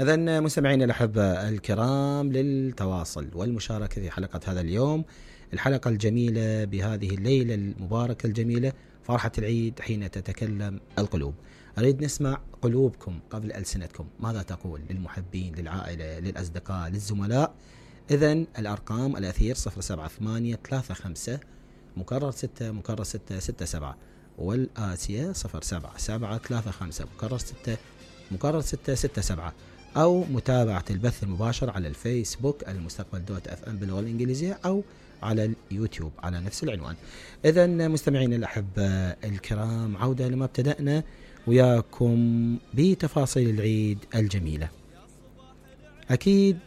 إذن مستمعينا الأحبة الكرام، للتواصل والمشاركة في حلقة هذا اليوم، الحلقة الجميلة بهذه الليلة المباركة الجميلة، فرحة العيد حين تتكلم القلوب. أريد نسمع قلوبكم قبل ألسنتكم، ماذا تقول للمحبين، للعائلة، للأصدقاء، للزملاء؟ إذن الأرقام الأثير 07835 مكرر 6 مكرر 6 67، والآسية 07735 مكرر 6 مكرر 6 67، أو متابعة البث المباشر على الفيسبوك المستقبل دوت اف ام باللغة الإنجليزية، أو على اليوتيوب على نفس العنوان. إذن مستمعين الأحبة الكرام، عودة لما ابتدأنا وياكم بتفاصيل العيد الجميلة. أكيد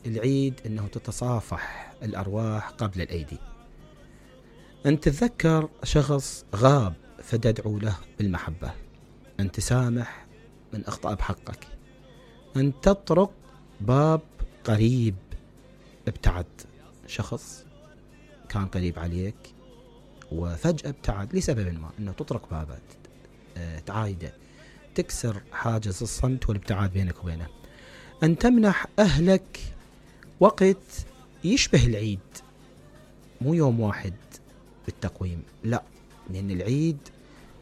العيد أنه تتصافح الأرواح قبل الأيدي. أن تتذكر شخص غاب فتدعو له بالمحبة، أن تسامح من أخطأ بحقك، أن تطرق باب قريب ابتعد، شخص كان قريب عليك وفجأة ابتعد لسبب ما، أنه تطرق بابه، تعايده، تكسر حاجز الصمت والابتعاد بينك وبينه. أن تمنح أهلك وقت يشبه العيد، مو يوم واحد بالتقويم، لا، لأن العيد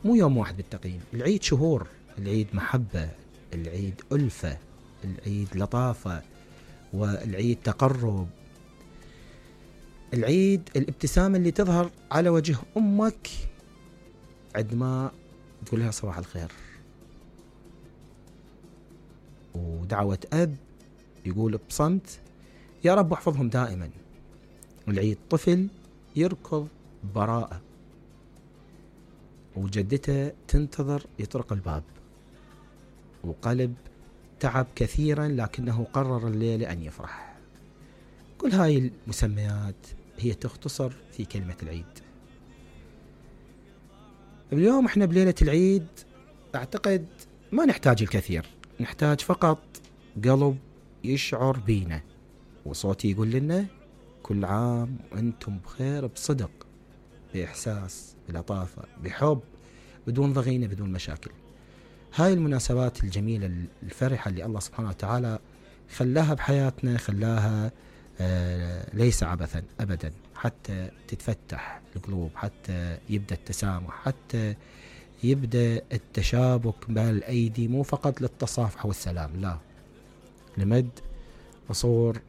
مو يوم واحد بالتقييم، العيد شهور، العيد محبة، العيد ألفة، العيد لطافة، والعيد تقرب، العيد الابتسامة اللي تظهر على وجه أمك عندما تقول لها صباح الخير، ودعوة أب يقول بصمت يا رب احفظهم دائما. العيد طفل يركض براءة وجدته تنتظر يطرق الباب، وقلب تعب كثيرا لكنه قرر الليلة أن يفرح. كل هاي المسميات هي تختصر في كلمة العيد. اليوم احنا بليلة العيد اعتقد ما نحتاج الكثير، نحتاج فقط قلب يشعر بينا، وصوتي يقول لنا كل عام وانتم بخير، بصدق، بإحساس، بلطافة، بحب، بدون ضغينة، بدون مشاكل. هاي المناسبات الجميلة الفرحة اللي الله سبحانه وتعالى خلاها بحياتنا، خلاها ليس عبثا أبدا، حتى تتفتح القلوب، حتى يبدأ التسامح، حتى يبدأ التشابك بين الأيدي، مو فقط للتصافح والسلام، لا، لمد عصور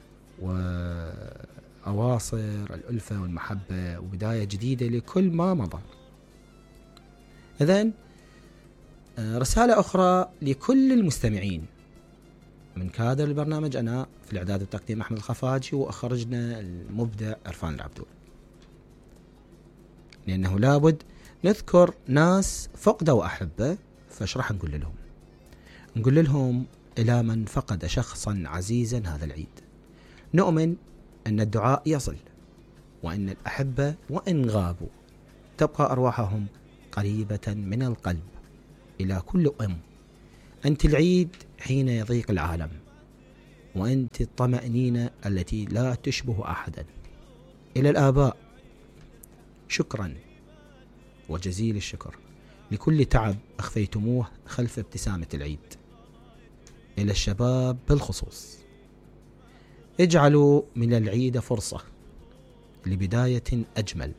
وأواصر الألفة والمحبة وبداية جديدة لكل ما مضى. إذن رسالة أخرى لكل المستمعين من كادر البرنامج، أنا في الإعداد والتقديم أحمد الخفاجي، وأخرجنا المبدع عرفان العبدول، لأنه لابد نذكر ناس فقدوا أحبة، فايش راح نقول لهم؟ نقول لهم إلى من فقد شخصا عزيزا هذا العيد، نؤمن أن الدعاء يصل، وأن الأحبة وإن غابوا تبقى أرواحهم قريبة من القلب إلى كل أم. أنت العيد حين يضيق العالم، وأنت الطمأنينة التي لا تشبه أحدا. إلى الآباء شكرا وجزيل الشكر لكل تعب أخفيتموه خلف ابتسامة العيد. إلى الشباب بالخصوص، اجعلوا من العيد فرصة لبداية أجمل،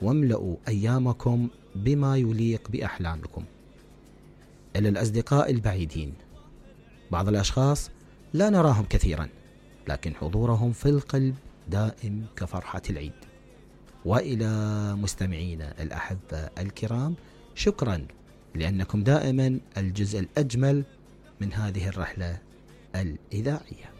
واملأوا أيامكم بما يليق بأحلامكم. إلى الأصدقاء البعيدين، بعض الأشخاص لا نراهم كثيرا، لكن حضورهم في القلب دائم كفرحة العيد. وإلى مستمعينا الأحبة الكرام، شكرا لأنكم دائما الجزء الأجمل من هذه الرحلة الإذاعية.